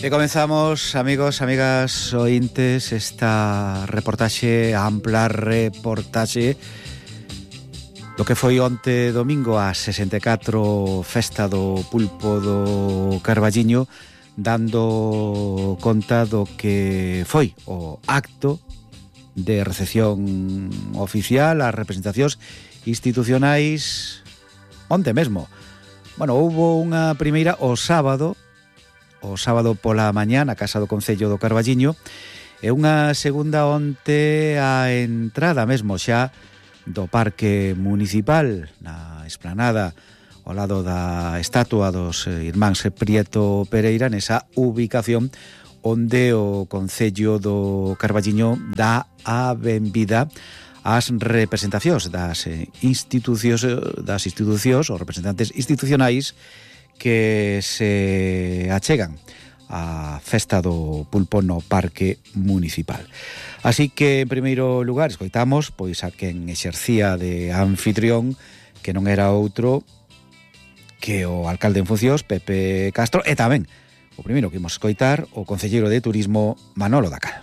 E comenzamos, amigos, amigas, ointes, esta reportaxe, ampla reportaxe do que foi onte domingo a 64 festa do pulpo do Carballiño, dando conta do que foi o acto de recepción oficial ás representacións institucionais onte mesmo. Bueno, houbo unha primeira o sábado pola mañá na Casa do Concello do Carballiño e unha segunda onte a entrada mesmo xa do Parque Municipal na esplanada ao lado da estatua dos irmáns Prieto Pereira, nesa ubicación onde o Concello do Carballiño dá a benvida ás representacións das institucións os representantes institucionais que se achegan á festa do pulpo no Parque Municipal. Así que, en primeiro lugar, escoitamos pois a quen exercía de anfitrión, que non era outro que o alcalde en funcións, Pepe Castro, e tamén o primeiro que imos escoitar, o concelleiro de Turismo, Manolo Dacal.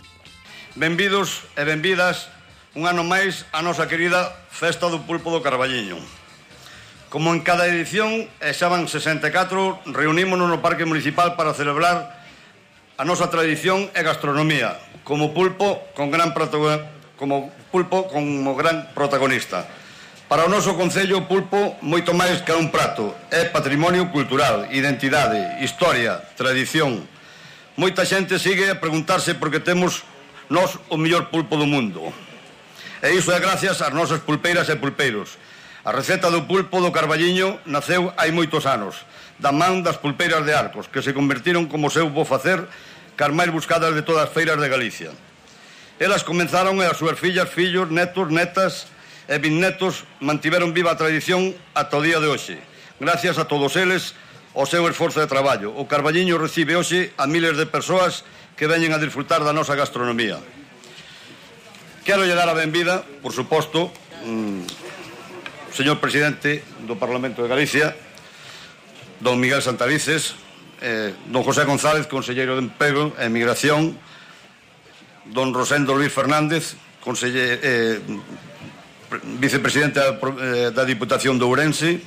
Benvidos e benvidas un ano máis a nosa querida Festa do Pulpo do Carballiño. Como en cada edición, e xa van 64, reunímonos no Parque Municipal para celebrar a nosa tradición e gastronomía, como pulpo como gran protagonista. Para o noso Concello, o pulpo, moito máis que un prato, é patrimonio cultural, identidade, historia, tradición. Moita xente sigue a preguntarse por que temos nós o mellor pulpo do mundo. E iso é gracias ás nosas pulpeiras e pulpeiros. A receta do pulpo do Carballiño naceu hai moitos anos, da man das pulpeiras de Arcos, que se convertiron como seu bo facer cas máis buscadas de todas as feiras de Galicia. Elas comenzaron e as súas fillas, fillos, netos, netas e bisnetos mantiveron viva a tradición ata o día de hoxe. Gracias a todos eles, o seu esforzo de traballo. O Carballiño recibe hoxe a miles de persoas que veñen a disfrutar da nosa gastronomía. Quero lle dar a benvida, por suposto, señor presidente do Parlamento de Galicia, don Miguel Santalices, don José González, conselleiro de Emprego e Migración, don Rosendo Luis Fernández, vicepresidente da Diputación de Ourense,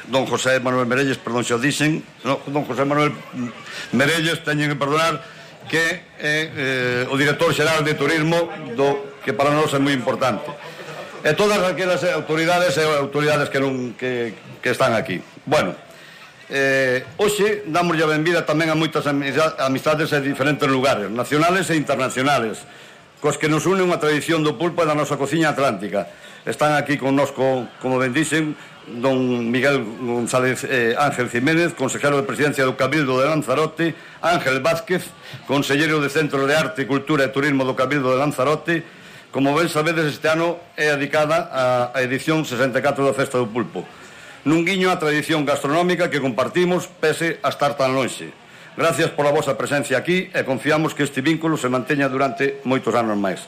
don José Manuel Merelles, perdón, xa o dixen, don José Manuel Merelles, teñen que perdonar, que é o director xeral de Turismo, que para nós é moi importante. E todas aquelas autoridades que están aquí. Bueno, hoxe damos a benvida tamén a moitas amistades en diferentes lugares, nacionales e internacionales, cos que nos une unha tradición do pulpo e da nosa cociña atlántica. Están aquí connosco, como ben dixen, don Miguel González Ángel Jiménez, consejero de Presidencia do Cabildo de Lanzarote, Ángel Vázquez, conselleiro de Centro de Arte, Cultura e Turismo do Cabildo de Lanzarote. Como ben sabedes, este ano é dedicada á edición 64 da Festa do Pulpo, nun guiño á tradición gastronómica que compartimos pese a estar tan lonxe. Gracias pola vosa presencia aquí e confiamos que este vínculo se manteña durante moitos anos máis.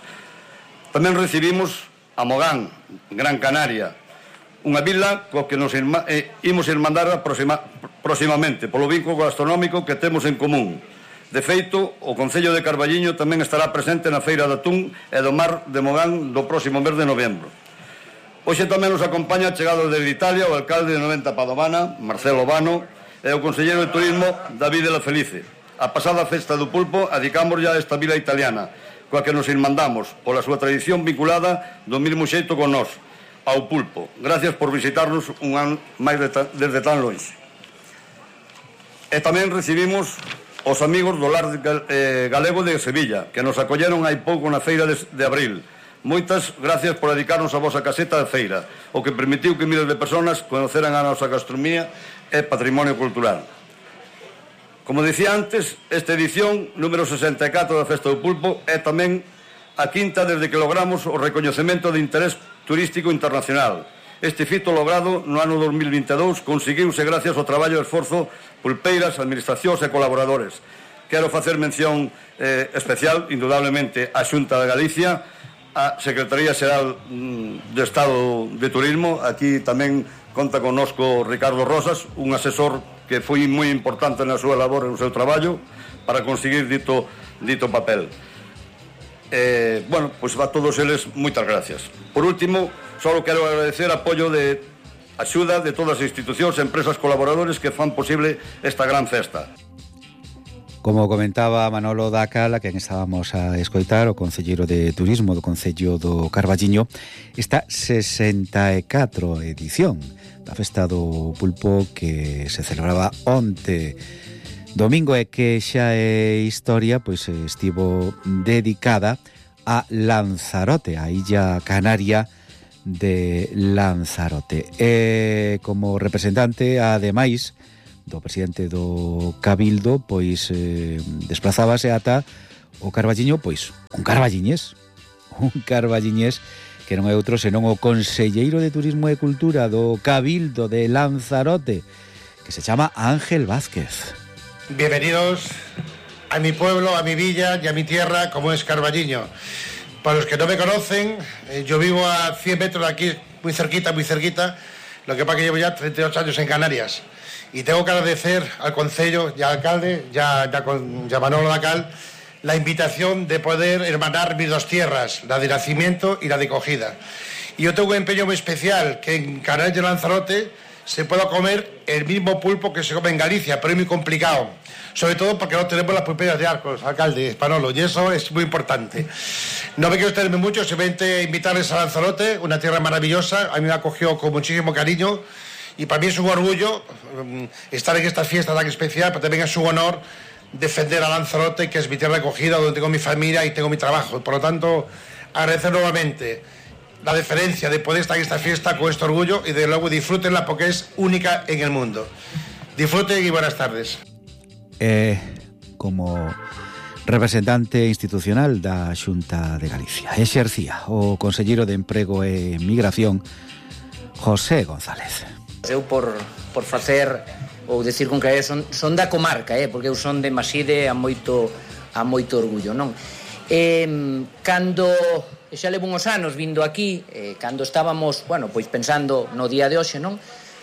Tamén recibimos a Mogán, Gran Canaria, unha vila co que nos imos irmandar proximamente polo vínculo gastronómico que temos en común. De feito, o Concello de Carballiño tamén estará presente na Feira de Atún e do Mar de Mogán do próximo mes de novembro. Hoxe tamén nos acompaña, chegado desde Italia, o alcalde de Noventa Padovana, Marcelo Vano, e o conselleiro de Turismo, David de la Felice. A pasada Festa do Pulpo adicamos ya a esta vila italiana, coa que nos irmandamos pola súa tradición vinculada do mesmo xeito con nós, ao pulpo. Gracias por visitarnos un ano máis desde tan longe. E tamén recibimos os amigos do Lar Galego de Sevilla, que nos acolleron hai pouco na feira de abril. Moitas gracias por dedicarnos a vosa caseta de feira, o que permitiu que miles de personas conoceran a nosa gastronomía e patrimonio cultural. Como dicía antes, esta edición número 64 da Festa do Pulpo é tamén a quinta desde que logramos o recoñecemento de interés turístico internacional. Este fito logrado no ano 2022 conseguiuse gracias ao traballo e esforzo pulpeiras, administracións e colaboradores. Quero facer mención especial, indudablemente, á Xunta de Galicia, a Secretaría Xeral de Estado de Turismo. Aquí tamén conta connosco Ricardo Rosas, un asesor que foi moi importante na súa labor e no seu traballo para conseguir dito papel. Bueno, pois a todos eles moitas gracias. Por último, só quero agradecer apoio de axuda de todas as institucións, empresas, colaboradores que fan posible esta gran festa. Como comentaba Manolo Dacal, a quen estábamos a escoitar, o concelleiro de Turismo do Concello do Carballiño, esta 64 edición da Festa do Pulpo que se celebraba onte domingo e que xa é historia, pois estivo dedicada a Lanzarote, a illa canaria de Lanzarote. E como representante, ademais do presidente do Cabildo, pois desplazábase ata o Carballiño, pois un carballiñés que non é outro senón o conselleiro de Turismo e Cultura do Cabildo de Lanzarote, que se chama Ángel Vázquez. Bienvenidos a mi pueblo, a mi villa y a mi tierra, como es Carballiño. Para los que no me conocen, yo vivo a 100 metros de aquí, muy cerquita. Lo que pasa que llevo ya 38 años en Canarias. Y tengo que agradecer al Concello y al alcalde, ya Manolo Dacal, la invitación de poder hermanar mis dos tierras, la de nacimiento y la de acogida. Y yo tengo un empeño muy especial, que en Canarias de Lanzarote se pueda comer el mismo pulpo que se come en Galicia, pero es muy complicado. Sobre todo porque no tenemos las pulperas de Arcos, alcalde, Manolo, y eso es muy importante. No me quiero extenderme mucho, simplemente invitarles a Lanzarote, una tierra maravillosa, a mí me acogió con muchísimo cariño. Y para mí es un orgullo estar en esta fiesta tan especial, pero también es un honor defender a Lanzarote, que es mi tierra de acogida, donde tengo mi familia y tengo mi trabajo. Por lo tanto, agradecer nuevamente la deferencia de poder estar en esta fiesta con este orgullo y de luego disfrútenla porque es única en el mundo. Disfruten y buenas tardes. Como representante institucional da Xunta de Galicia, exercía o conselleiro de Emprego e Migración, José González. Eu por facer ou decir con que son da comarca, porque eu son de Maside a moito orgullo, non? Cando xa levo uns anos vindo aquí, cando estábamos, bueno, pois pensando no día de hoxe, non?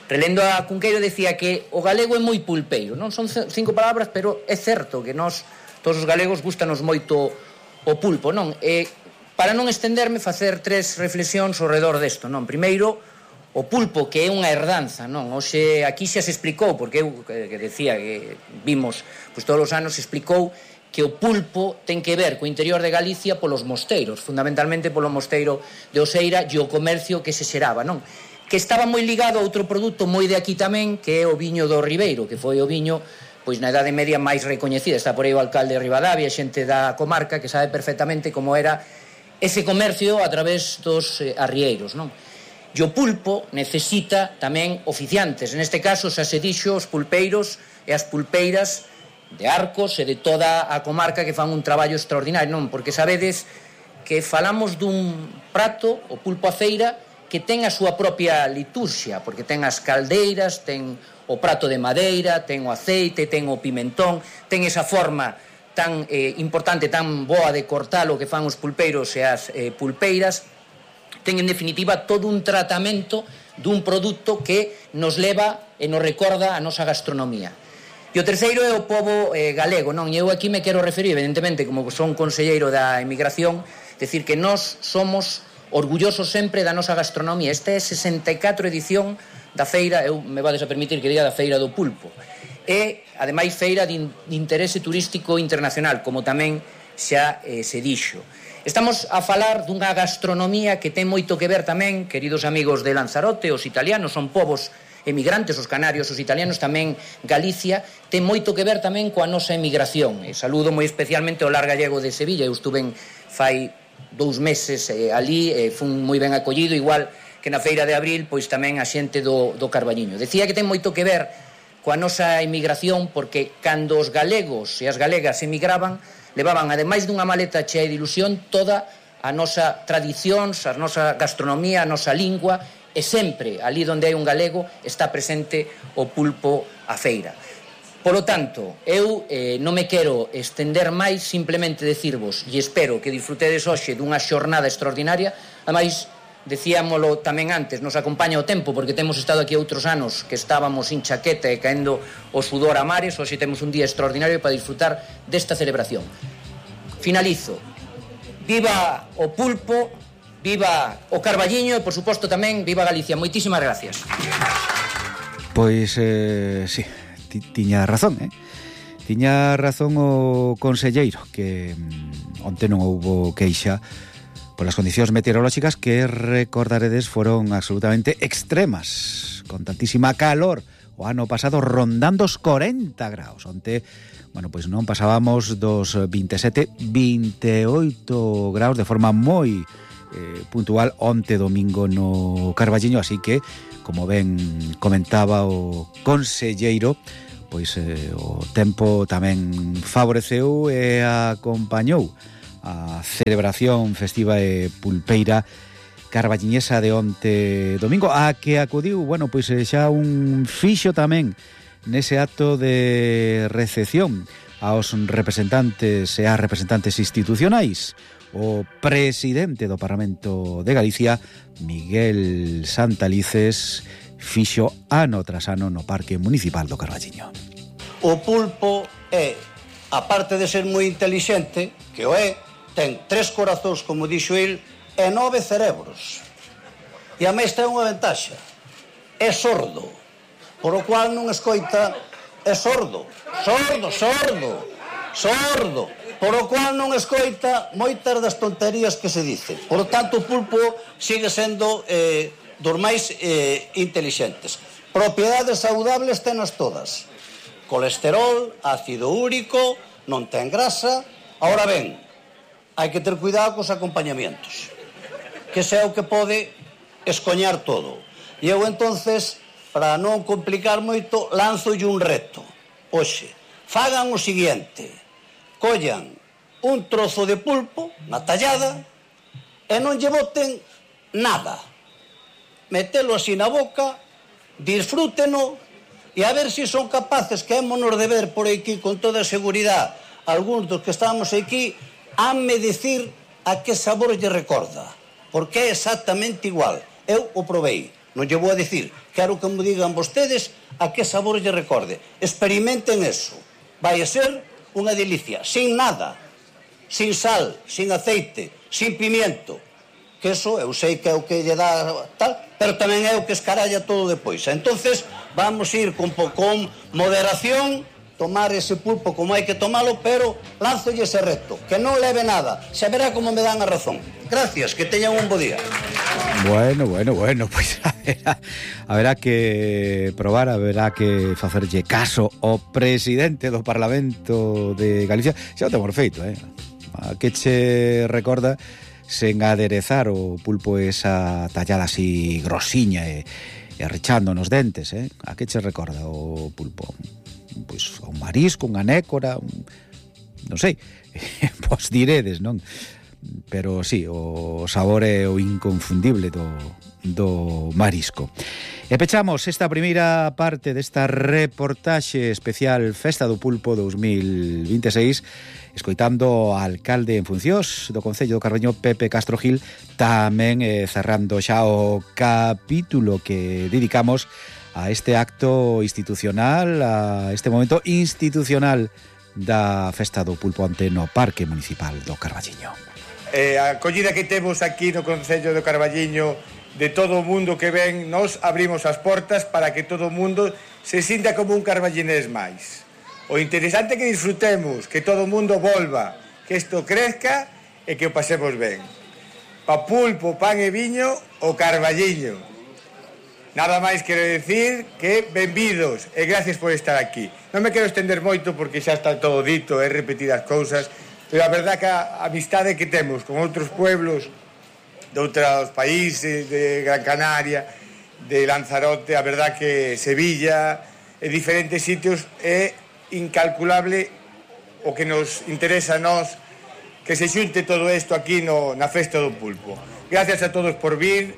Relendo a Cunqueiro decía que o galego é moi pulpeiro, non? Son 5 palabras, pero é certo que nós, todos os galegos, gustanos moito o pulpo, non? Para non estenderme, facer 3 reflexións ao redor desto, non? Primeiro, o pulpo, que é unha herdanza, non? Hoxe aquí xa se explicou, porque eu que decía que vimos, pois todos os anos se explicou que o pulpo ten que ver co interior de Galicia polos mosteiros, fundamentalmente polo mosteiro de Oseira e o comercio que se xeraba, non? Que estaba moi ligado a outro produto moi de aquí tamén, que é o viño do Ribeiro, que foi o viño pois na Idade Media máis recoñecida. Está por aí o alcalde de Ribadavia, xente da comarca que sabe perfectamente como era ese comercio a través dos arrieiros, non? E o pulpo necesita tamén oficiantes. Neste caso, xa se dixo, os pulpeiros e as pulpeiras de Arcos e de toda a comarca que fan un traballo extraordinario, non? Porque sabedes que falamos dun prato, o pulpo a feira, que ten a súa propia liturxia, porque ten as caldeiras, ten o prato de madeira, ten o aceite, ten o pimentón, ten esa forma tan importante, tan boa de cortar o que fan os pulpeiros e as pulpeiras. Ten, en definitiva, todo un tratamento dun produto que nos leva e nos recorda a nosa gastronomía. E o terceiro é o pobo galego, non? E eu aquí me quero referir, evidentemente, como son conselleiro da emigración, decir que nós somos orgullosos sempre da nosa gastronomía. Esta é 64 edición da feira, eu me vades a permitir que diga da feira do pulpo. E, ademais, feira de interese turístico internacional, como tamén xa se dixo. Estamos a falar dunha gastronomía que ten moito que ver tamén, queridos amigos de Lanzarote, os italianos son povos emigrantes, os canarios, os italianos, tamén Galicia, ten moito que ver tamén coa nosa emigración. E saludo moi especialmente ao Lar Gallego de Sevilla, eu estuve fai 2 meses ali, fun moi ben acollido, igual que na feira de abril, pois tamén a xente do Carballiño. Decía que ten moito que ver coa nosa emigración, porque cando os galegos e as galegas emigraban, levaban, ademais dunha maleta chea de ilusión, toda a nosa tradición, a nosa gastronomía, a nosa lingua, e sempre, ali onde hai un galego, está presente o pulpo a feira. Polo tanto, eu non me quero estender máis, simplemente decirvos, e espero que disfrutedes hoxe dunha xornada extraordinaria, ademais, decíamolo tamén antes, nos acompaña o tempo, porque temos estado aquí outros anos que estábamos sin chaqueta e caendo o sudor a mares. Hoxe temos un día extraordinario para disfrutar desta celebración. Finalizo. Viva o pulpo, viva o Carballiño e, por suposto, tamén viva Galicia. Moitísimas gracias. Pois, sí, tiña razón, Tiña razón o conselleiro, que onte non houbo queixa polas condicións meteorolóxicas que, recordaredes, foron absolutamente extremas, con tantísima calor o ano pasado rondando os 40 graus. Onte, bueno, pois non pasábamos dos 27, 28 graus de forma moi puntual onte domingo no Carballiño, así que, como ben comentaba o conselleiro, pois o tempo tamén favoreceu e acompañou a celebración festiva e pulpeira carballiñesa de onte domingo, a que acudiu, bueno, pois xa un fixo tamén nese acto de recepción aos representantes e ás representantes institucionais, o presidente do Parlamento de Galicia, Miguel Santalices, fixo ano tras ano no Parque Municipal do Carballiño. O pulpo é, aparte de ser moi intelixente, que o é, ten 3 corazóns, como dixo el, e 9 cerebros. E a máis ten unha ventaxa. É sordo, por o cual non escoita, é sordo, por o cual non escoita moitas das tonterías que se dicen. Por tanto, o pulpo sigue sendo dos máis intelixentes. Propiedades saudables tenas todas. Colesterol, ácido úrico, non ten grasa. Ahora ben, hai que ter cuidado cos acompañamientos, que ese é o que pode escoñar todo. E eu, entonces, para non complicar moito, lanzolle un reto. Oxe, fagan o seguinte: collan un trozo de pulpo na tallada e non lle boten nada. Metelo así na boca, disfrúteno, e a ver se son capaces, que émonos de ver por aquí con toda a seguridade, algúns dos que estamos aquí, hanme dicir a que sabor lle recorda, porque é exactamente igual. Eu o probei, non lle vou a dicir, quero que me digan vostedes a que sabor lle recorde. Experimenten eso, vai a ser unha delicia, sin nada, sin sal, sin aceite, sin pimiento, que eso eu sei que é o que lle dá tal, pero tamén é o que escaralla todo depois. Entonces vamos ir con moderación, tomar ese pulpo como hai que tomalo, pero lánzolle ese reto, que non leve nada, xa verá como me dan a razón. Gracias, que teñan un bo día. Bueno, pois haberá que probar, haberá que facerlle caso ao presidente do Parlamento de Galicia. Xa o temos feito, a que che recorda sen aderezar o pulpo esa tallada así grosiña e rechando nos dentes, a que che recorda o pulpo? Pois un marisco, unha nécora, non sei, pois diredes, non? Pero sí, o sabor é o inconfundible do marisco. E pechamos esta primeira parte desta reportaxe especial Festa do Pulpo 2026 escoitando ao alcalde en funcións do Concello do Carballiño, Pepe Castro Gil, tamén cerrando xa o capítulo que dedicamos a este acto institucional, a este momento institucional da Festa do Pulpo onte no Parque Municipal do Carballiño. A acollida que temos aquí no Concello do Carballiño de todo o mundo que ven, nos abrimos as portas para que todo o mundo se sinta como un carballinés máis. O interesante é que disfrutemos, que todo o mundo volva, que isto crezca e que o pasemos ben. Pa pulpo, pan e viño, o Carballiño. Nada máis quero decir que benvidos e gracias por estar aquí. Non me quero estender moito porque xa está todo dito e repetir as cousas, pero a verdad que a amistade que temos con outros pueblos de outros países, de Gran Canaria, de Lanzarote, a verdad que Sevilla e diferentes sitios é incalculable o que nos interesa a nós que se xunte todo isto aquí na Festa do Pulpo. Gracias a todos por vir,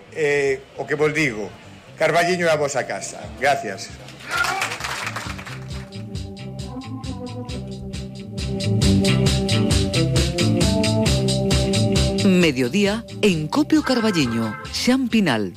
o que vos digo, Carballiño é a vosa casa. Gracias. Mediodía en Copio Carballiño, Xan Pinal.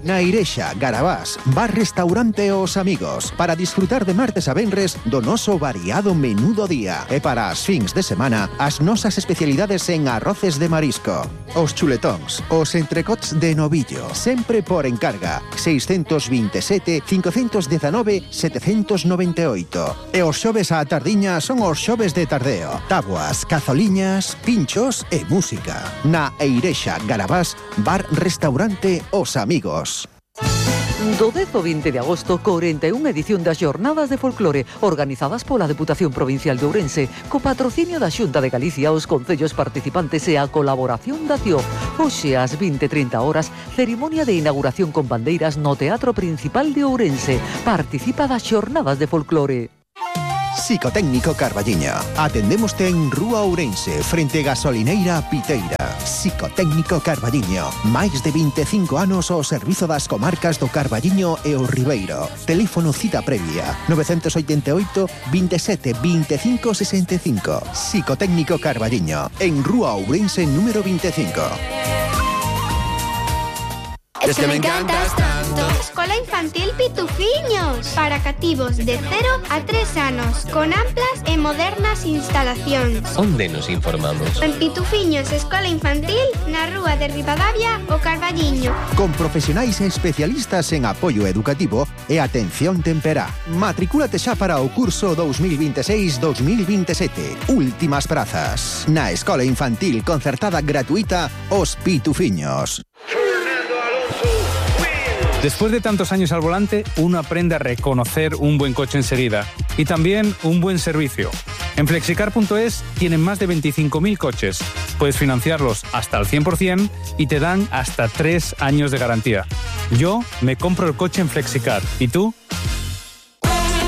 Na Irexa, Garabás, bar restaurante Os Amigos, para disfrutar de martes a venres do noso variado menú do día. E para as fins de semana, as nosas especialidades en arroces de marisco, os chuletóns, os entrecots de novillo, sempre por encarga, 627 519 798. E os xoves á tardiña son os xoves de tardeo, tabuas, cazoliñas, pinchos e música. Na Irexa, Garabás, bar restaurante Os Amigos. Do 10 ao 20 de agosto, 41 edición das Xornadas de Folclore, organizadas pola Deputación Provincial de Ourense, co patrocinio da Xunta de Galicia, os concellos participantes e a colaboración da CIO. Hoxe, ás 20:30 horas, cerimonia de inauguración con bandeiras no Teatro Principal de Ourense. Participa das Xornadas de Folclore. Psicotécnico Carballiño. Atendémoste en Rúa Ourense, frente Gasolineira Piteira. Psicotécnico Carballiño. Máis de 25 anos ao servizo das comarcas do Carballiño e o Ribeiro. Teléfono cita previa 988 27 25 65. Psicotécnico Carballiño. En Rúa Ourense número 25. Es que me encantas tanto. Escola Infantil Pitufiños, para cativos de 0 a 3 anos, con amplas e modernas instalacións. Onde nos informamos? En Pitufiños Escola Infantil, na Rúa de Ribadavia, o Carballiño. Con profesionais e especialistas en apoio educativo e atención temperá. Matricúlate xa para o curso 2026-2027. Últimas prazas. Na Escola Infantil concertada gratuita Os Pitufiños. Después de tantos años al volante, uno aprende a reconocer un buen coche enseguida y también un buen servicio. En Flexicar.es tienen más de 25.000 coches. Puedes financiarlos hasta el 100% y te dan hasta 3 años de garantía. Yo me compro el coche en Flexicar. ¿Y tú?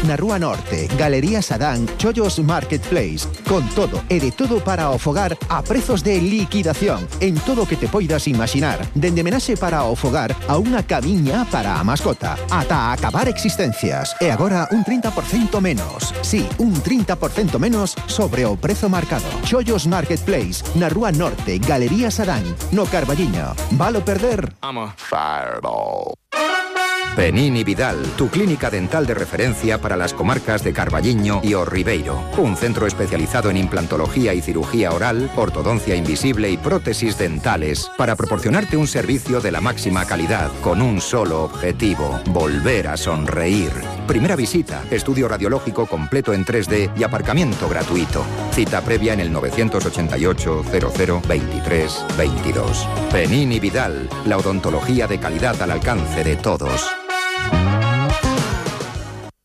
Na Rúa Norte, Galería Sadán, Chollos Marketplace, con todo e de todo para o fogar a prezos de liquidación en todo o que te poidas imaginar, dende menaxe para o fogar a unha camiña para a mascota, ata acabar existencias. E agora un 30% menos. Sí, un 30% menos sobre o prezo marcado. Chollos Marketplace, na Rúa Norte, Galería Sadán, no Carballiño. Valo perder? Vamos. Fireball. Penini Vidal, tu clínica dental de referencia para las comarcas de Carballiño y O Ribeiro. Un centro especializado en implantología y cirugía oral, ortodoncia invisible y prótesis dentales para proporcionarte un servicio de la máxima calidad con un solo objetivo: volver a sonreír. Primera visita, estudio radiológico completo en 3D y aparcamiento gratuito. Cita previa en el 988 00 23 22. Penini Vidal, la odontología de calidad al alcance de todos.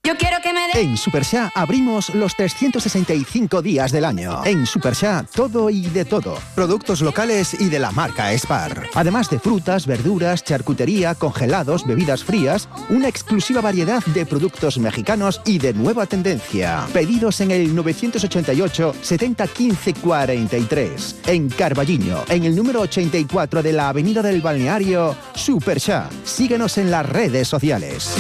Yo quiero que me dé... En Superxá abrimos los 365 días del año. En Superxá, todo y de todo. Productos locales y de la marca Spar. Además de frutas, verduras, charcutería, congelados, bebidas frías, una exclusiva variedad de productos mexicanos y de nueva tendencia. Pedidos en el 988 70 15 43. En Carballiño, en el número 84 de la Avenida del Balneario, Superxá. Síguenos en las redes sociales.